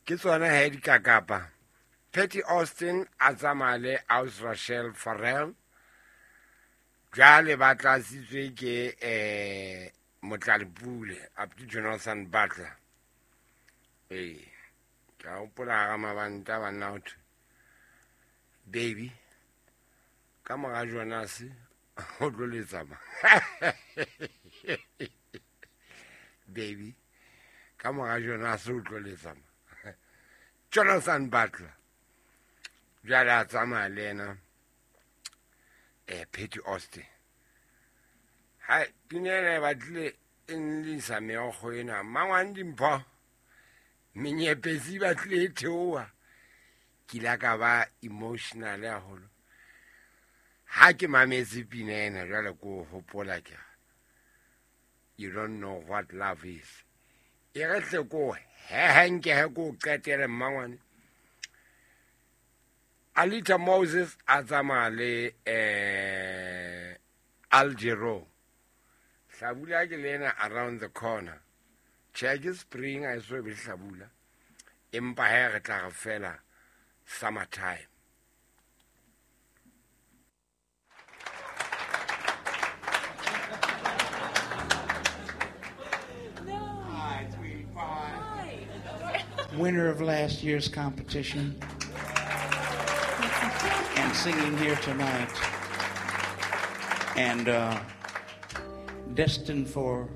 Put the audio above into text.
Ke tsona he dikakapa. Patty Austin a tsamaya le Aus Rachel Farrell. Jwale ba tlatsitswe ke Motlalepule up to Jonathan Butler. Ee, ke a hopola hara mabanta banna ho thwe baby ka mora Jonas o tlo letsa ma. Baby ka mora Jonas o tlo letsa ma. Jonathan Butler jwale a tsamaya le ena Patty Austin. Hai, pina ena e batlile e nlisa meokgo ena. Mmangwane Dimpho, menyepetsi e batlile e theoha. Ke ile ka ba emotional haholo. Ha ke mametse pina ena jwale ko hopola ke re, you don't know what love is. E re hle ko hehenkehe ko qetele mmangwane. Alita Moses a tsamaya le Al Jarreau. Hlabula ke le ena around the corner. Tjhe, ke spring a eso be hlabula. Empa he re tla re fela summertime. Winner of last year's competition and singing here tonight, and destined for